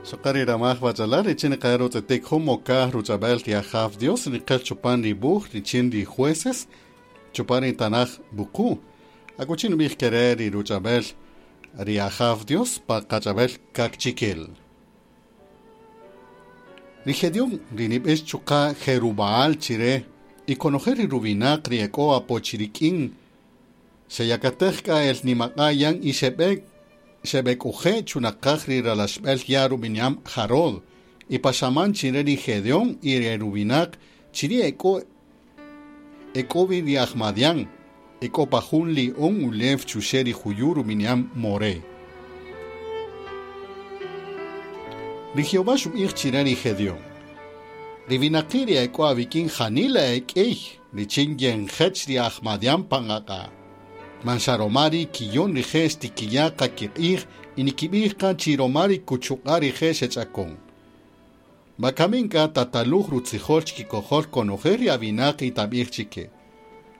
Xoqa ri ramaj wach'alal richin niqaya' rutz'etik jun mokaj ruch'ab'el ri Ajaw Dios niqel chupan ri wuj richin ri jueces chupan ri tanaj wuqu'. Akuchi nub'ij kere' ri ruch'ab'el ri Ajaw Dios pa qach'ab'el kaqchikel. Ri Gedeón ri nib'ix chuqa' Jerubaal chire y konojel ri ruwinaq ri ek'o apo chirik'in xeyakatej k'a el nimaq'a' yan y xeb'ek'uje' chunaqaj ri ralaxb'el ya' rub'ini'am Jarod y paxaman chire ri Gedeón y ri ruwinaq chiri' ek'o wi ri aj Madián ek'o pa jun li'on ulew chuxe' ri juyu' rub'ini'am Moré. Ri Jehová xub'ij chire ri Gedeón: Ri winaqi' ri ek'o awik'in janila ek'ey richin yenjech ri aj Madián pan aq'a'. Man xa roma ri kiyon rije' xtikiya' qa kiq'ij y nikib'ij qa chi roma ri kuchuq'a' rije' xech'akon. Wakamin k'a tataluj rutzijol chikikojol konojel ri awinaq y tab'ij chike.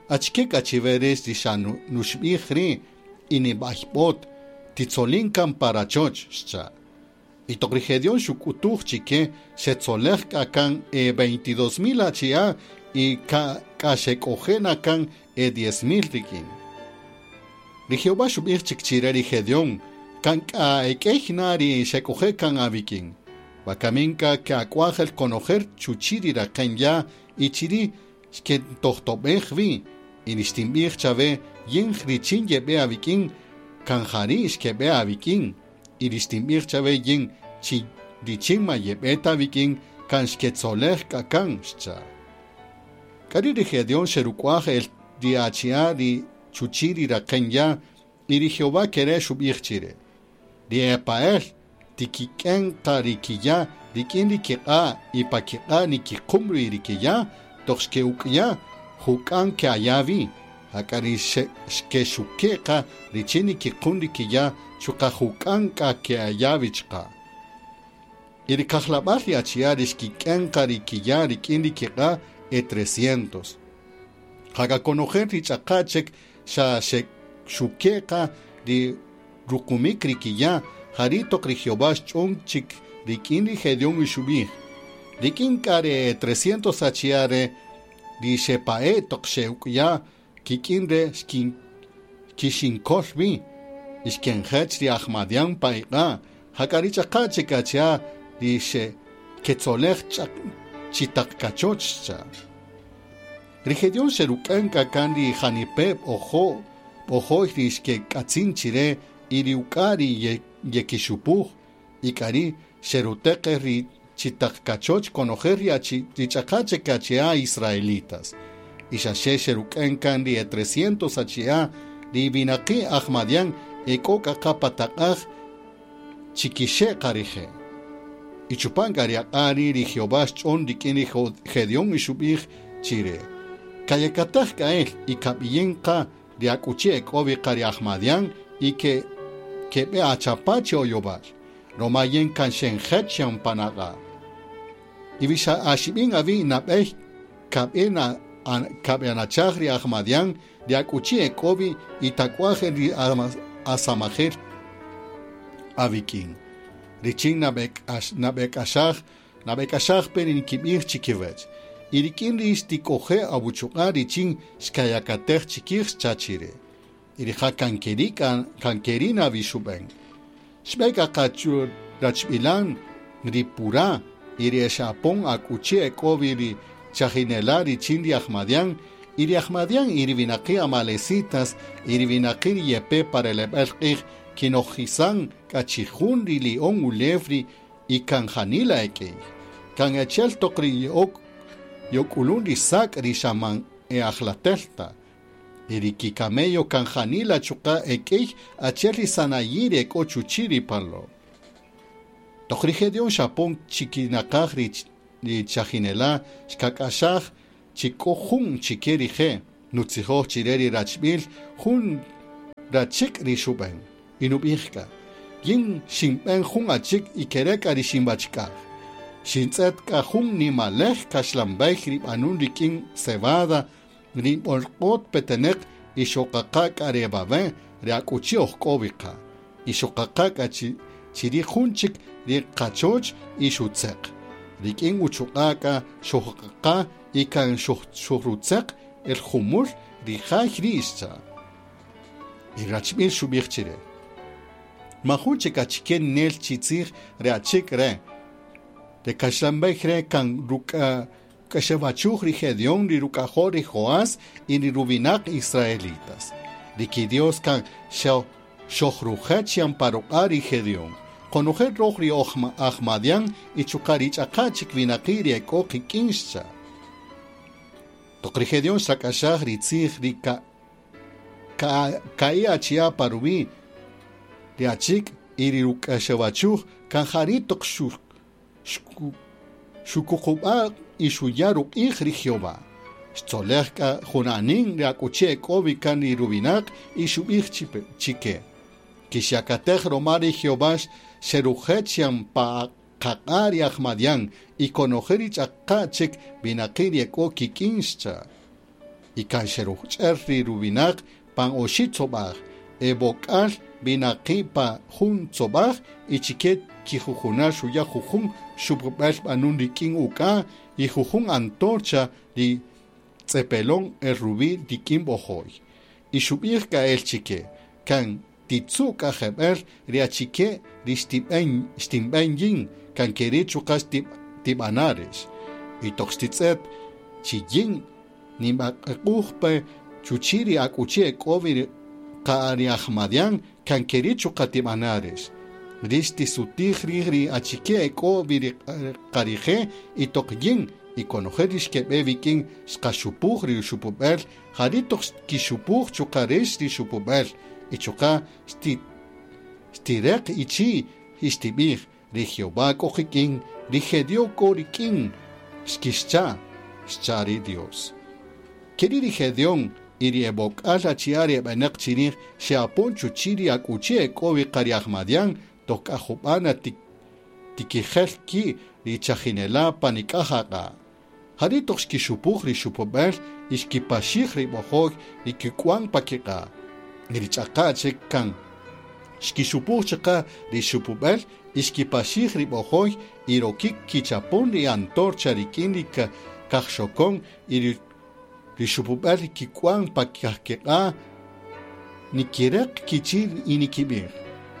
Achike k'a chiwe rix ri xa nuxb'ij ri' y nib'ayb'ot, titzolin kan pa rachoch, xcha'. Y toq ri Gedeón xuk'utuj chike xetzolej k'a kan e 22,000 achi'a' y k'a xek'oje' na kan e 10,000 rik'in. Ri Jehová xub'ij chik chire ri Gedeón kan k'a ek'ey na ri xek'oje' kan awik'in. Wakamin k'a ke'ak'uaj el konojel chuchi' ri raqen ya' y chiri' xkentojtob'ej wi y nixtinb'ij chawe yin richin yeb'e awik'in kan jari' xkeb'e awik'in y rixtinb'ij chawe yin chi richin ma yeb'e ta awik'in kan xketzolej k'a kan, xcha'. K'ari' ri Gedeón xeruk'uaj el ri achi'a' ri chuchi' ri raqen ya' y ri Jehová kere' xub'ij chire. Ri epa'el tikik'en qa ri kiya' rik'in ri kiq'a' y pa kiq'a' nikiqum ri kiya' toq xke'uk'ya' juk'an ke'aya' wi. Jak'a ri xkexuke' qa richin nikiqun ri kiya' chuqa' juk'an k'a ke'aya' wi chuqa'. Y ri kajlab'al ri achi'a' ri xkik'en qa ri kiya' rik'in ri kiq'a' e 300. Jak'a konojel ri ch'aqa' chik xa xuke' qa ri ruqumik ri kiya' jari' toq ri Jehová xch'on chik rik'in ri Gedeón y xub'ij. Rik'in k'a ri 300 achi'a' re ri xepa'e' toq xe'uk'ya' kik'in re kixinkol wi y xkenjech ri aj Madián pa iq'a' jak'a ri ch'aqa' chik achi'a' ri xeketzolej chitaq kachoch, xcha'. Ri Gedeón xeruk'en k'a kan ri janipe' b'ojo'y ri xkek'atzin chire y ri uk'a' ri yekixupuj y k'ari' xeruteq el ri chitaq kachoch konojel ri ch'aqa' chik achi'a' israelitas. Y xaxe xeruk'en kan ri e 300 achi'a' ri winaqi' aj Madián ek'o k'a qa pa taq'aj chikixe' qa rije'. Y chupan k'a ri aq'a' ri' ri Jehová xch'on rik'in ri Gedeón y xub'ij chire. Kayakataj k'a el y kab'iyin qa ri akuchi ek'o wi qa ri aj Madián y keb'e achapa' chi oyowal. Roma yin kan xenjech yan pan aq'a'. Y wi xa axib'in awi' nab'ey kab'e anachaj ri aj Madián ri akuchi ek'o wi y tak'uaj el ri asamajel awik'in. Richin nab'ek'axaj pe ri nikib'ij chikiwech. Y rik'in ri xtik'oje' awuchuq'a' richin xkayakatej chikij xcha' chire. Y rija' kan keri' na wi xub'en. Xb'e k'a qa rachb'ilan ri Purá y ri xapon akuchi ek'o wi ri chajinela' richin ri aj Madián y ri aj Madián y ri winaqi' amalecitas y ri winaqi' ri yepe pa releb'el q'ij kinojisan k'a chijun ri li'on ulew ri y kan janila ek'ey. Kan achi'el toq ri yok'ulun ri sak' ri xa man e ajlatelta. Y ri kikamello kan janila chuqa' ek'ey achi'el ri sanayi' ri ek'o chuchi' ri palo. Toq ri Gedeón xapon chikinaqaj ri chajinela' xkak'axaj chi k'o jun chike rije' nutzijoj chire ri rachb'il jun rachik' ri xub'en. Y nub'ij k'a, yin xinb'en jun achik' y kere' k'a ri xinb'achk'aj. Xintz'et k'a jun nimalej kaxlanb'ey ri b'anun rik'in cebada ri b'olq'ot peteneq y xoqaqa k'a ri bab'e ri akuchi oj k'o wi qa. Y xoqaqa k'a chi chirij jun chik ri qachoch y xutzeq. Rik'in uchuq'a' k'a xojqaqa y kan xojrutzeq el jumul ri jay ri' xcha'. Y rachb'il xub'ij chire: Majun chik achike nel chi tzij re achik' re'. Re kaxlan b'ey re' kan ruk'exewachuj ri Gedeón ri ruk'ajol ri Joás y ri ruwinaq israelitas. Ri ki-Dios kan xojrujech yan pa ruq'a' ri Gedeón. Konojel roj ri oj aj Madián y chuqa' ri ch'aqa' chik winaqi' ri ek'o qik'in xcha'. Toq ri Gedeón xrak'axaj ri tzij ri ka'i achi'a' pa ruwi' ri achik' y ri ruk'exewachuj kan jari' toq xukuqub'a' y xuya' ruq'ij ri Jehová. Xtzolej k'a junanin ri akuchi ek'o wi kan ri ruwinaq y xub'ij chike: Kixyakatej roma ri Jehová xerujech yan pa qaq'a' ri aj Madián y konojel ri ch'aqa' chik winaqi' ri ek'o kik'in xcha'. Y kan xeruch'er ri ruwinaq pan oxi' tzob'aj, eb'ok'al winaqi' pa jun tzob'aj y chike kijujunal xuya' jujun xupub'el b'anun rik'in uk'a' y jujun antorcha ri tz'epelon el ruwi' rik'in b'ojo'y. Y xub'ij k'a el chike: Kan titzu' k'a jeb'ël ri achike ri xtinb'en yin, kan keri' chuqa' tib'ana' rix. Y toq xtitz'et chi yin ninb'aq'uj pe chuchi' ri akuchi ek'o wi qa ri aj Madián, kan keri' chuqa' tib'ana' rix. Rix tisutij rij ri achike ek'o wi ri qarije' y toq yin y konojel ri xkeb'e wik'in xqaxupuj ri xupub'el, jari' toq xkixupuj chuqa' rix ri xupub'el y chuqa' xtireq ichi' y xtib'ij: Ri Jehová k'o qik'in, ri Gedeón k'o rik'in, xkixcha', xcha' ri Dios. Keri' ri Gedeón y ri eb'ok'al achi'a' ri eb'enaq chirij xe'apon chuchi' ri akuchi ek'o wi qa ri aj Madián toq k'a jub'ana tikijel ki' ri chajinela' pa nik'aj aq'a'. Jari' toq xkixupuj ri xupub'el y xkipaxij ri b'ojo'y ri kik'wan pa kiq'a'. Y ri ch'aqa' chik kan xkixupuj chuqa' ri xupub'el y xkipaxij ri b'ojo'y y rokik kichapon ri antorcha rik'in ri kajxokon y ri xupub'el kik'wan pa kiq'a' nikireq kichi' y nikib'ij: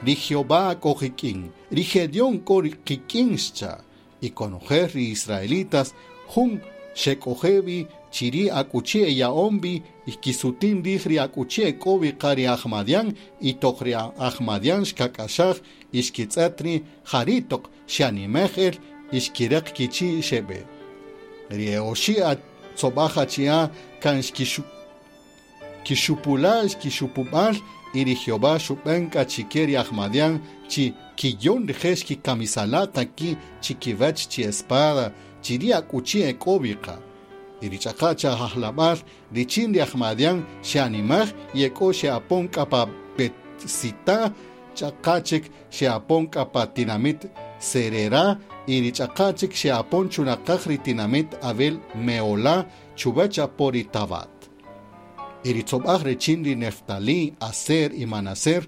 Ri Jehová k'o qik'in, ri Gedeón k'o qik'in xcha'. Y konojel ri israelitas jun xek'oje wi chiri' akuchi eya'on wi y kisutin rij ri akuchi ek'o wi qa ri aj Madián y toq ri aj Madián xkak'axaj y xkitz'et ri jari' toq xeanimej el y xkireq kichi' xeb'e. Ri e'oxi' tzob'aj achi'a' kan xkixupula' xkixupub'al y ri Jehová xub'en k'a chike ri aj Madián chi kiyon rije' xkikamisala' ta ki' chikiwach chi espada chiri' akuchi ek'o wi qa. Y ri ch'aqa' cha ajlab'al richin ri aj Madián xeanimaj y ek'o xe'apon k'a pa Betsita, ch'aqa' chik xe'apon k'a pa tinamit Serera y ri ch'aqa' chik xe'apon chunaqaj ri tinamit Abel Meolá chuwach apo ri Tabat. Y ri tzob'aj richin ri Neftalí, Aser y Manaser,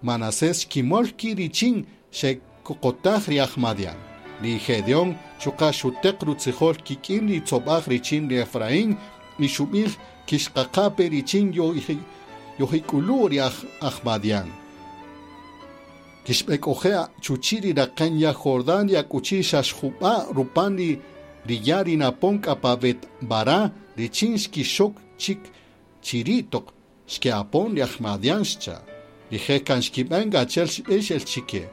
Manasés xkimol ki' richin xekoqotaj ri aj Madián. Ri Gedeón chuqa' xuteq rutzijol kik'in ri tzob'aj richin ri Efraín y xub'ij kixqaqa pe richin yojik'ulu' ri aj Madián. Kixb'ek'oje' chuchi' ri raqen ya Jordán ri akuchi xaxjub'a' rupan ri ya' ri napon k'a pa Bet-Bará richin xkixok chik chiri' toq xke'apon ri aj Madián xcha'. Rije' kan xkib'en achi'el xb'ix el chike.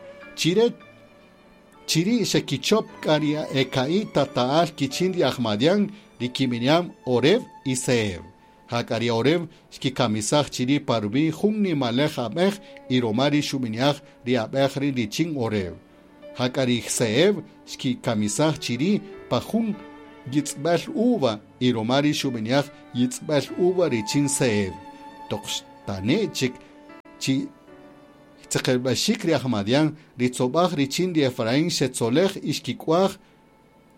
Chiri' xekichop k'a ri eka'i' tata'al kichin ri aj Madián ri kib'ini'am Oreb y Zeeb. Jak'a ri Oreb xkikamisaj chiri' pa ruwi' jun nimalej ab'ej y roma ri xub'ini'aj ri ab'ej ri' richin Oreb. Jak'a ri Zeeb xkikamisaj chiri' pa jun yitz'b'el uva y roma ri xub'ini'aj yitz'b'el uva richin Zeeb. Toq xtane' chik chi tzeqelb'axik ri aj Madián, ri tzob'aj richin ri Efraín xetzolej y xkik'uaj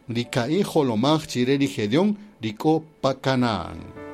ri ka'i' jolomaj chire ri Gedeón ri k'o pa Canaán.